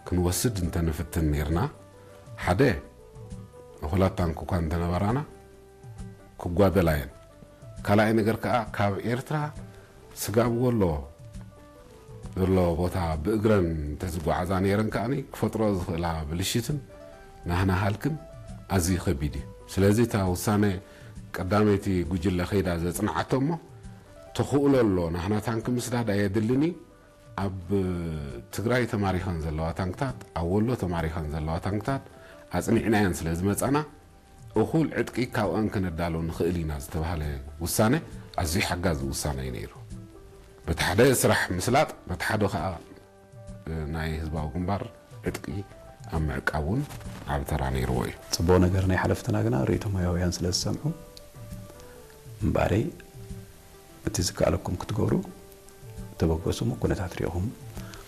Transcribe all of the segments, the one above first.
ክንወስድ እንተንፍትን ነይርና፣ ሓደ፣ እኹላት ታንክ እኳ እንተነበራና፣ ክጓደላ እየን። ካልኣይ ነገር ከኣ፣ ካብ ኤርትራ ስጋብ ወሎ ዘሎ ቦታ ብእግረን እንተዝጓዓዛ ነይረን ከኣኒ፣ ክፈጥሮ ዝኽእላ ብልሽትን ናህና ሃልክን ኣዝዩ ከቢድ እዩ። ስለዚ እታ ውሳነ ቀዳመይቲ ጉጅለ ከይዳ ዘጽንዓቶ እሞ፣ ተኽእሎ ኣሎ፣ ናህና ታንክ ምስዳድ ኣየድልን እዩ። ኣብ ትግራይ ተማሪኸን ዘለዋ ታንክታት፣ ኣብ ወሎ ተማሪኸን ዘለዋ ታንክታት ኣጽኒዕናየን ስለ ዝመጻና፣ እኹል ዕጥቂ ካብኣን ከነዳሎ ንኽእል ኢና ዝተባህለ ውሳነ ኣዝዩ ሓጋዚ ውሳነ እዩ ነይሩ። በቲ ሓደ ስራሕ ምስላጥ፣ በቲ ሓደ ኸኣ ናይ ህዝባዊ ግንባር ዕጥቂ ኣብ ምዕቃብ እውን ዓቢ ተራ ነይርዎ እዩ። ጽቡቕ ነገር ናይ ሓለፍትና ግና ርእይቶ ሞያውያን ስለ ዝሰምዑ እምበኣረይ፣ እቲ ዝከኣለኩም ክትገብሩ ተበገሱ እሞ፣ ኩነታት ሪእኹም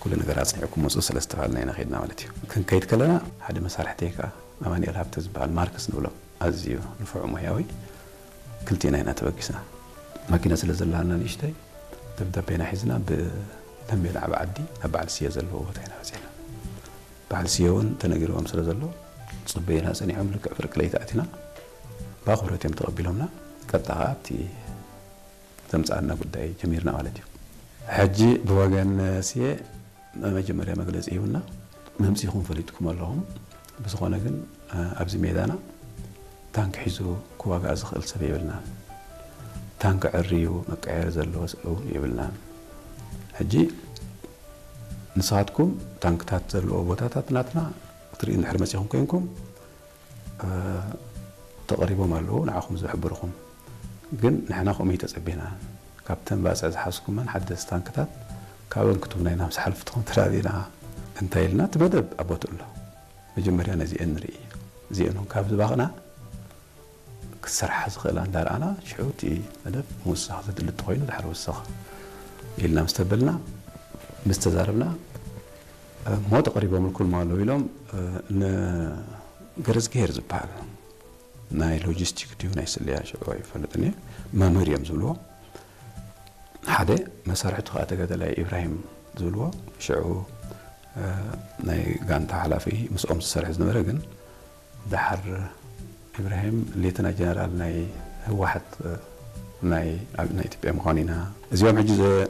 ኩሉ ነገር ኣጽኒዕኩም ምጹ ስለ ዝተባሃልና ኢና ኸይድና ማለት እዩ። ክንከይድ ከለና ሓደ መሳርሕተይ ከኣ ኣማኑኤል ሃብተ ዝበሃል ማርክስ ንብሎ ኣዝዩ ንፉዕ ሞያዊ ክልቲና ኢና ተበጊስና። ማኪና ስለ ዘለሃና ንእሽተይ ደብዳቤና ሒዝና ብተንቤን ዓቢ ዓዲ ናብ በዓል ስየ ዘለዎ ቦታ ኢና በጺሕና። በዓል ስየ እውን ተነጊርዎም ስለ ዘሎ ጽበዩና ጸኒሖም። ልክዕ ፍርቂ ለይቲ ኣቲና ብኣኽብሮት እዮም ተቐቢሎምና። ቀጥታ ከኣ ኣብቲ ዘምጽኣና ጉዳይ ጀሚርና ማለት እዩ። ሕጂ ብወገን ስየ መጀመርያ መግለጺ ሂቡና፣ መምጺኹም ፈሊጥኩም ኣለኹም። ብዝኾነ ግን፣ እ፣ ኣብዚ ሜዳና ታንክ ሒዙ ክዋጋእ ዝኽእል ሰብ የብልናን። ታንክ ዕርዩ መቀየሪ ዘለዎ ሰብ እውን የብልናን። ሕጂ ንስኻትኩም ታንክታት ዘለዎ ቦታታት ናትና ክትርኢ እንድሕር መጺኹም ኮይንኩም፣ እ፣ ተቐሪቦም ኣለዉ፣ ንዓኹም ዝሕብርኹም። ግን ንሕና ከምኡ እዩ ተጸቢና። ካብተን ባጽዕ ዝሓዝኩመን ሓደስቲ ታንክታት ካብአን ክትቡና ኢና ምስ ሓለፍትኹም ተራዲእና እንታይ ኢልና፣ እቲ መደብ ኣብ ቦትኡ ኣሎ። መጀመርያ ነዚአን ንርኢ። እዚአን እውን ካብ ዝባኽና ክሰርሓ ዝኽእላ እንዳረኣና፣ ሽዑ እቲ መደብ ምውሳኽ ዘድሊ እንተኾይኑ፣ ድሓር ወሰኽ ኢልና ምስ ተበልና፣ ምስ ተዛረብና፣ እሞ ተቐሪቦምልኩም ኣለዉ ኢሎም፣ እ፣ ንገረዝግሄር ዝበሃል ናይ ሎጂስቲክ ድዩ ናይ ስለያ ሽዑ ኣይፈልጥን እየ፣ መምህር እዮም ዝብልዎ። ሓደ መሳርሕቱ ከዓ ተጋዳላይ ኢብራሂም ዝብልዎ፣ ሽዑ፣ እ፣ ናይ ጋንታ ሓላፊ ምስኦም ዝሰርሕ ዝነበረ፣ ግን ደሓር ኢብራሂም ሌተና ጀነራል ናይ ህወሓት፣ እ፣ ናይ፣ ኣብ፣ ናይ ኢትዮጵያ ምዃኑ ኢና። እዚኦም ሕጂ ዘ-፣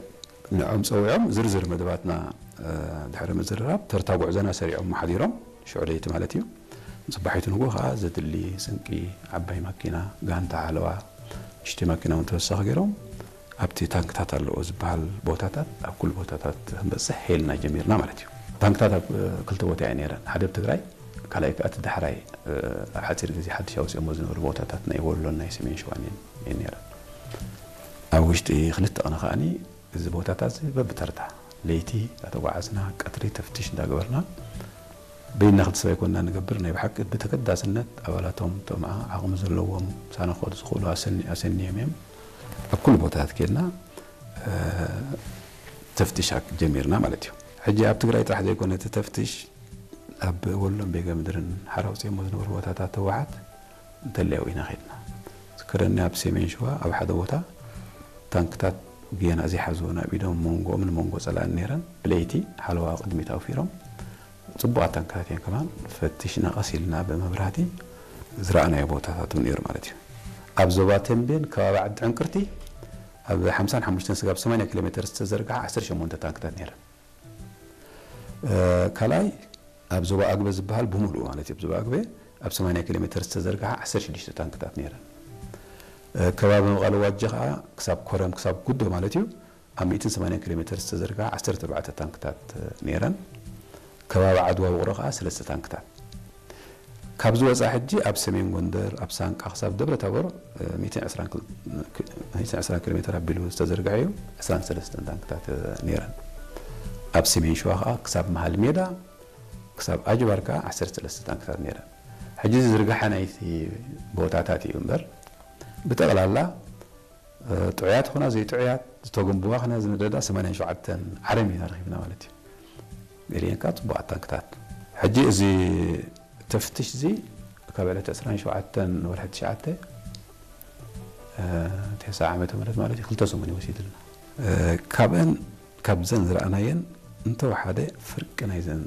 ንዕኦም ጸዊዖም ዝርዝር መደባትና፣ እ፣ ድሕሪ ምዝርራብ ተርታ ጉዕዞና ሰሪዖም ሓዲሮም፣ ሽዑ ለይቲ ማለት እዩ። ጽባሒቱ ንግሆ ከኣ ዘድሊ ስንቂ፣ ዓባይ ማኪና፣ ጋንታ ሓለዋ፣ ንእሽተይ ማኪና እውን ተወሳኺ ገይሮም፣ ኣብቲ ታንክታት ኣለዎ ዝበሃል ቦታታት፣ ኣብ ኩሉ ቦታታት ክንበጽሕ ሄልና ጀሚርና ማለት እዩ። ታንክታት ኣብ፣ እ፣ ክልተ ቦታ እየን ነይረን። ሓደ ኣብ ትግራይ፣ ካልኣይ ከኣ እቲ ዳሕራይ፣ እ፣ ኣብ ሓጺር ግዜ ሓድሽ ኣውጺኦሞ ዝነበሩ ቦታታት ናይ ወሎን ናይ ሰሜን ሸዋን እየን፣ እየን ነይረን። ኣብ ውሽጢ ክልተ ቅነ ከኣኒ እዚ ቦታታት እዚ በብተርታ ለይቲ እንዳተጓዓዝና፣ ቀትሪ ተፍትሽ እንዳገበርና፣ በይንና ክልተ ሰብ ኣይኮንና ንገብር። ናይ ብሓቂ ብተገዳስነት ኣባላቶም፣ እቶም ዓቕሚ ዘለዎም፣ ምሳና ክኸዱ ዝኽእሉ ኣሰኒ-፣ ኣሰንዮም እዮም። ኣብ ኩሉ ቦታታት ኬድና፣ እ፣ ተፍትሽ ኣክ-፣ ጀሚርና ማለት እዩ። ሕጂ ኣብ ትግራይ ጥራሕ ዘይኮነ እቲ ተፍትሽ፣ ኣብ ወሎን ቤገ ምድርን ሓራ ኣውፂኦሞ ዝነበሩ ቦታታት ህወሓት እንተለያው ኢና ኸድና። ዝከረኒ ኣብ ሰሜን ሸዋ ኣብ ሓደ ቦታ ታንክታት ጌና ዘይሓዝወን ኣብ ኢዶም መንጎኦም ንመንጎ ጸላእን ነይረን። ብለይቲ ሓለዋ ቅድሚት ኣውፊሮም ጽቡቓት ታንክታት እየን ከማን ፈቲሽና ቀስ ኢልና ብመብራህቲ ዝረኣናዮ ቦታታት እውን ነይሩ ማለት እዩ። ኣብ ዞባ ተንቤን ከባቢ ዓዲ ዕንቅርቲ ኣብ ሓምሳን ሓሙሽተን ስጋብ ሰማንያ ኪሎ ሜትር ዝተዘርግሓ ዓሰርተ ሸሞንተ ታንክታት ነይረን። እ፣ ካልኣይ ኣብ ዞባ ኣግበ ዝበሃል ብምሉኡ ማለት እዩ። ኣብ ዞባ ኣግበ ኣብ ሰማንያ ኪሎ ሜትር ዝተዘርግሓ ዓሰርተ ሽዱሽተ ታንክታት ነይረን። እ፣ ከባቢ መቐለ ዋጀ ከዓ ክሳብ ኮረም ክሳብ ጉዶ ማለት እዩ ኣብ ሚእትን ሰማንያን ኪሎ ሜትር ዝተዘርግሓ ዓሰርተ ኣርባዕተ ታንክታት፣ እ፣ ነይረን። ከባቢ ዓድዋ ውቕሮ ከዓ ሰለስተ ታንክታት። ካብዚ ወፃኢ ሕጂ ኣብ ሰሜን ጎንደር ኣብ ሳንቃ ክሳብ ደብረ ታቦር፣ እ፣ ሚእትን ዕስራን ኪሎ ሜትር ኣቢሉ ዝተዘርግሐ እዩ። ዕስራን ሰለስተን ታንክታት፣ እ፣ ነይረን። ኣብ ሰሜን ሸዋ ከዓ ክሳብ መሃል ሜዳ ክሳብ ኣጅባር ከዓ ዓሰርተ ሰለስተ ታንክታት ነይረን። ሕጂ እዚ ዝርግሐ ናይቲ ቦታታት እዩ እምበር ብጠቕላላ፣ እ፣ ጥዑያት ኾና ዘይጥዑያት፣ ዝተጎንብዋ ኾና ዝነደዳ ሰማንያን ሸውዓተን ዓረም ኢና ረኺብና ማለት እዩ። ገሊአን ከዓ ጽቡቓት ታንክታት። ሕጂ እዚ ተፍትሽ እዚ ካብ ዕለት ዕስራን ሸውዓተን ወርሒ ትሽዓተ፣ እ፣ ተስዓ ዓመተ ምህረት ማለት እዩ፣ ክልተ ሰሙን እዩ ወሲድልና። እ፣ ካብአን፣ ካብዘን ዝረኣናየን እንተወሓደ ፍርቂ ናይዘን